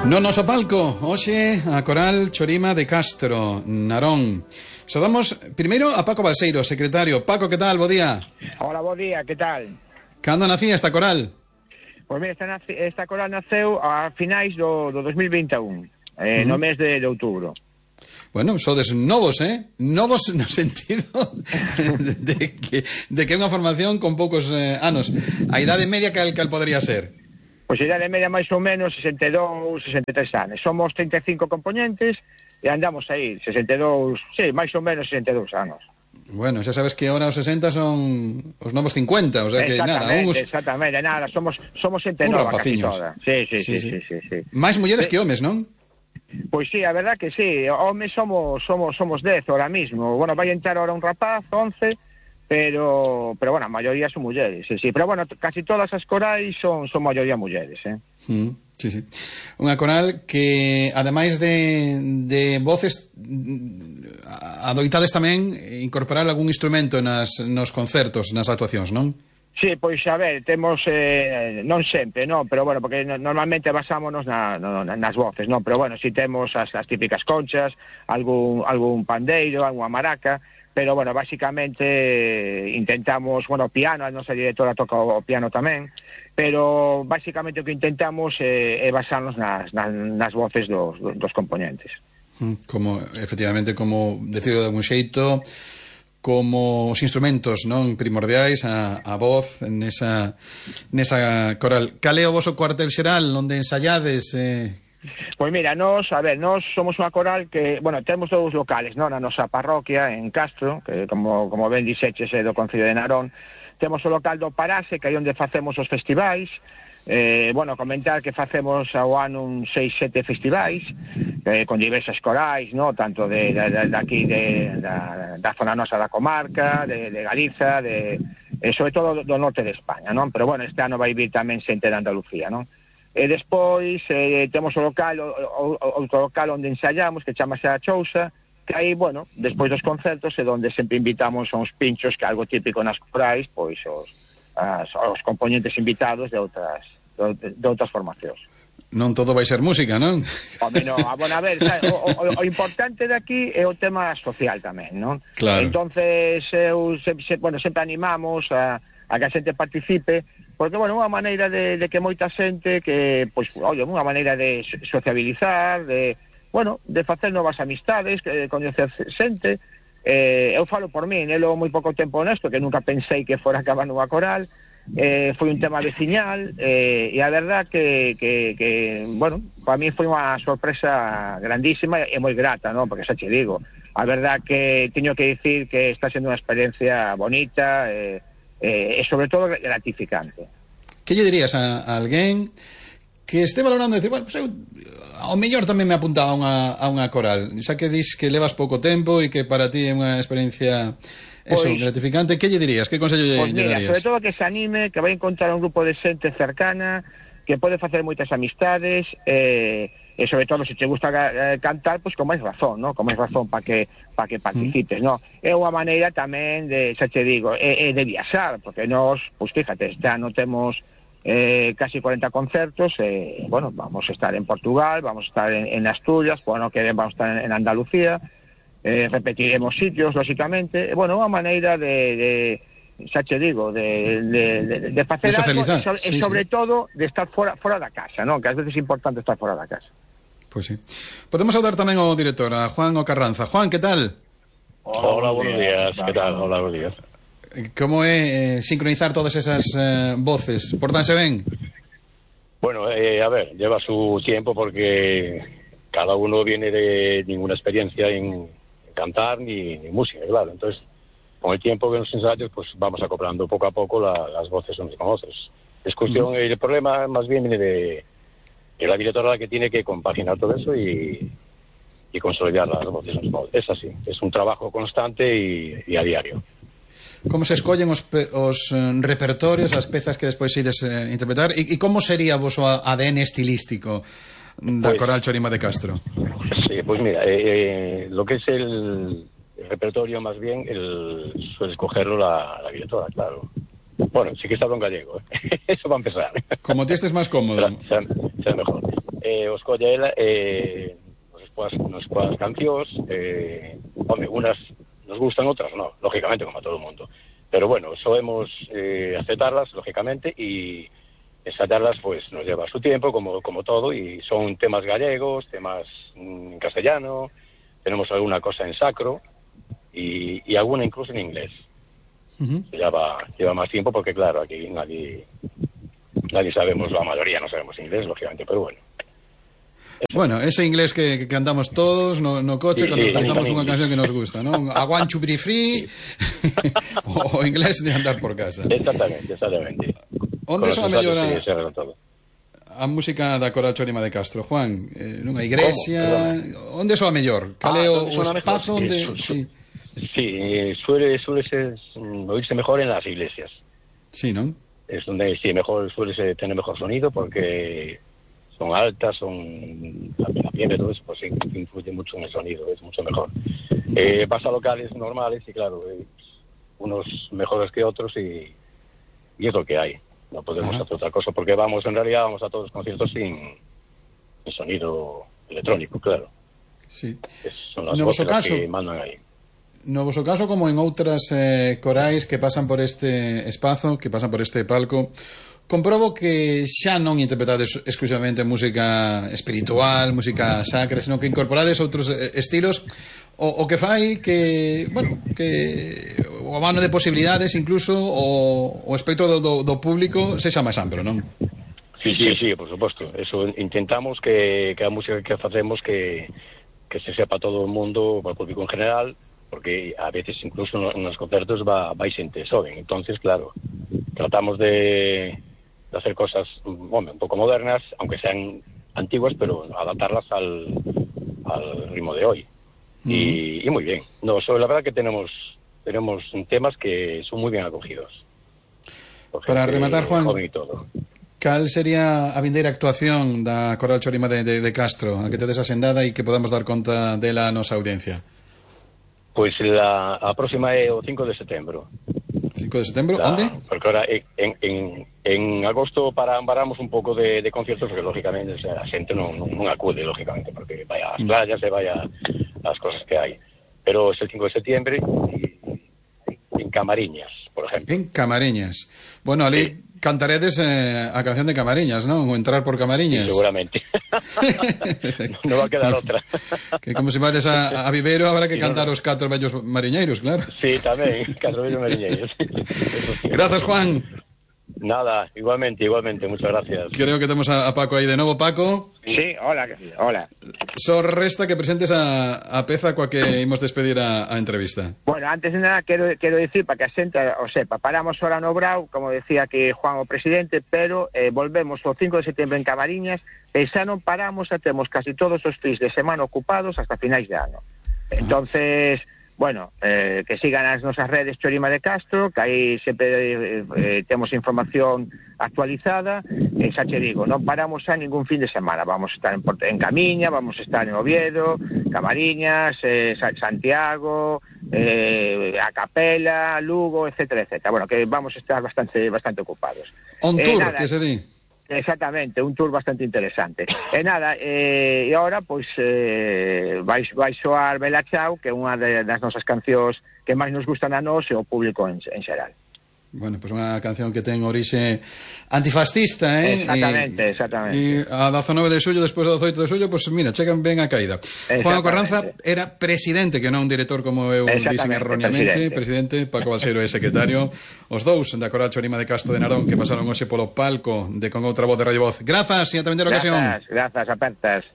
No noso palco, hoxe a Coral Chorima de Castro, Narón. Saudamos primeiro a Paco Balseiro, secretario. Paco, que tal? Bo día. Hola, bo día, que tal? Cando nacía esta coral? Pois mira, esta coral naceu a finais do 2021, no mes de outubro. Bueno, sodes novos, Novos no sentido de que é unha formación con poucos anos. A idade media cal podría ser? Pois a idade media máis ou menos 62, 63 anos. Somos 35 componentes e andamos aí, 62, sí, máis ou menos 62 anos. Bueno, xa sabes que ahora os 60 son os novos 50, o sea que nada, Exactamente, nada, somos xente nova casi toda. Sí. Máis mulleres que homes, non? Pois sí, a verdad que sí, homes somos 10 ahora mismo. Bueno, vai entrar ahora un rapaz, 11, pero bueno, a maioría son mulleres, sí. Pero bueno, casi todas as corais son maioría mulleres, Sí. Unha coral que, ademais de voces, adoitades tamén incorporar algún instrumento nos concertos, nas actuacións, non? Sí, pois a ver, temos, non sempre, non, pero bueno, porque normalmente basámonos nas voces, non, pero bueno, si temos as típicas conchas, algún pandeiro, algunha maraca, pero bueno, basicamente intentamos, bueno, o piano, a nosa directora toca o piano tamén, pero basicamente o que intentamos é basarnos nas voces dos componentes. Efectivamente, como decirlo de algún xeito, como os instrumentos, non, primordiais, a voz nesa coral. Cal é o voso cuartel xeral onde ensaiades? Pois mira, nós somos unha coral que, bueno, temos dous locales, non, na nosa parroquia en Castro, que como ben dixeches é do Concello de Narón. Temos o local do Parase, que é onde facemos os festivais. Bueno, comentar que facemos ao ano 6-7 festivais con diversas corais, no? Tanto de aquí da zona nosa da comarca, de Galiza, sobre todo do norte de España, non? Pero bueno, este ano vai vir tamén xente de Andalucía, non? E despois temos outro local onde ensaiamos, que chamase a Chousa, que aí, bueno, despois dos concertos é onde sempre invitamos a uns pinchos, que é algo típico nas corais, pois os componentes invitados de outras formacións. Non todo vai ser música, non? Home, non, bueno, a ver, o importante de aquí é o tema social tamén, non? Claro. Entonces, sempre animamos a que a xente participe, porque, bueno, unha maneira de que moita xente que, pois, unha maneira de sociabilizar, de facer novas amistades, coñecer xente. Eu falo por min, eu moi pouco tempo nesto, que nunca pensei que fora acabar nunha coral, foi un tema veciñal, e a verdad que bueno, para mí foi unha sorpresa grandísima e moi grata, non? Porque xa che digo, a verdad que teño que dicir que está sendo unha experiencia bonita, e sobre todo gratificante. Que lle dirías a alguén que este valorando decir, bueno, pues eu ao mellor tamén me apuntaba a unha coral, xa que dis que levas pouco tempo e que para ti é unha experiencia gratificante, que lle dirías? Que consello lle darías? Sobre todo que se anime, que vai encontrar un grupo de xente cercana, que pode facer moitas amistades, e sobre todo se te gusta cantar, pois con máis razón, ¿no? Con máis razón para que participes, ¿no? É unha maneira tamén de, xa te digo, de viaxar, porque nós, pois fíjate, este ano temos casi 40 concertos, bueno, vamos a estar en Portugal, vamos a estar en Asturias, bueno, que vamos a estar en Andalucía, repetiremos sitios, lógicamente, bueno, unha maneira de xa che digo, de facer algo, e sobre todo de estar fora da casa, non? Que ás veces é importante estar fora da casa. Pois sí. Podemos saudar tamén ao director, a Juan Ocarranza. Juan, que tal? Hola, buenos días. Que tal? Hola, buenos días. Como é sincronizar todas esas voces? Portanse ben? Bueno, a ver, lleva su tiempo porque cada uno viene de ninguna experiencia en cantar ni música, claro. Entonces, con el tiempo que nos ensayos, pues vamos acoplando poco a poco las voces unos con otros. Es cuestión, el problema más bien viene de la directora, que tiene que compaginar todo eso y consolidar las voces. Es así, es un trabajo constante y a diario. Como se escollen os repertorios, as pezas que despois ides interpretar, e como sería o vosso ADN estilístico da Coral Chorima de Castro? Sí, pues mira, lo que es el repertorio más bien suele escogerlo la directora, claro. Bueno, sí que está en gallego, eso va a empezar. Como ti estés más cómodo. Será mejor. os colle ela nos coas cancións, unas nos gustan, outras non, lógicamente, como a todo o mundo. Pero bueno, solemos aceptarlas, lógicamente, y ensayarlas pues nos lleva su tiempo, como todo, y son temas gallegos, temas en castellano, tenemos alguna cosa en sacro y alguna incluso en inglés. Lleva más tiempo porque, claro, aquí nadie sabemos, la mayoría no sabemos inglés, lógicamente, pero bueno. Bueno, ese inglés que cantamos todos no coche cuando cantamos unha canción que nos gusta, ¿no? I want to be free o inglés de andar por casa. Exactamente. Onde soa mellor a música da Coral Chorima de Castro, Juan? Nunha iglesia? Onde soa mellor? Cal é o espazo onde... Sí, suele oírse mejor en las iglesias. Sí, ¿no? Es donde sí, suele tener mejor sonido porque son altas, la piel, todo eso, pues sí, influye mucho en el sonido, es mucho mejor. Vas a locales normales y claro, unos mejores que otros y es lo que hay. No podemos hacer otra cosa porque en realidad vamos a todos los conciertos sin sonido electrónico, claro. Sí. Son las voces que mandan ahí. No voso caso, como en outras corais que pasan por este espazo, que pasan por este palco, comprobo que xa non interpretades exclusivamente música espiritual, música sacra, sino que incorporades outros estilos, o que fai que, bueno, que o abano de posibilidades incluso o espectro do público sexa máis amplo, non? Sí, por suposto. Eso intentamos que a música que facemos que se sepa todo o mundo, para o público en general, porque a veces incluso nos concertos vai xente soben. Entonces, claro, tratamos de hacer cosas un poco modernas, aunque sean antiguas, pero adaptarlas al ritmo de hoy. Y muy bien. No, la verdad que tenemos temas que son muy bien acogidos. Para rematar, Juan, cal sería a vindeira actuación da Coral Chorima de Castro, a que tedes asendada e que podamos dar conta dela a nosa audiencia? Pois a próxima é o 5 de setembro. 5 de setembro, onde? Porque ahora en agosto paramos un pouco de conciertos, porque lógicamente a xente non acude, lógicamente, porque vai ás playas e vai ás cosas que hai. Pero é el 5 de setembro en Camariñas, por exemplo. En Camariñas. Bueno, ali cantaredes a canción de Camariñas, non? O entrar por Camariñas. Sí, seguramente. No va a quedar outra. Que como se vayas a Viveiro habrá que cantar os 4 vellos mariñeiros, claro. Sí, tamén, 4 vellos mariñeiros. Gracias, Juan. Nada, igualmente, muchas gracias. Creo que tenemos a Paco aí de novo. Paco. Sí, hola. Só resta que presentes a peza coa que imos despedir a entrevista. Bueno, antes de nada quero decir, para que a xente o sepa, paramos ahora no Brau, como decía que Juan o presidente, pero volvemos o 5 de setembro en Camariñas e xa non paramos, xa temos casi todos os fins de semana ocupados hasta finais de ano. Entonces, bueno, que sigan as nosas redes Chorima de Castro, que aí sempre temos información actualizada, e xa che digo, non paramos xa ningún fin de semana, vamos a estar en Camiña, vamos a estar en Oviedo, Camariñas, Santiago, a Capela, Lugo, etcétera. Bueno, que vamos a estar bastante ocupados. On tour, que se di? Exactamente, un tour bastante interesante. E nada, e agora pois vai soar Bela Chao, que é unha das nosas cancións que máis nos gustan a nós e ao público en xeral. Bueno, pues unha canción que ten orixe antifascista, Exactamente. E a 19 de xullo, despois do 18 de xullo, pues mira, chegan ben a caída. Juan Carranza era presidente, que non un director como eu dixen erróneamente, presidente, Paco Balseiro é secretario, os dous da Coral Chorima de Castro de Narón que pasaron hoxe polo palco de Con Outra Voz de Radio Voz. Grazas e ata vender ocasión. Grazas, apertas.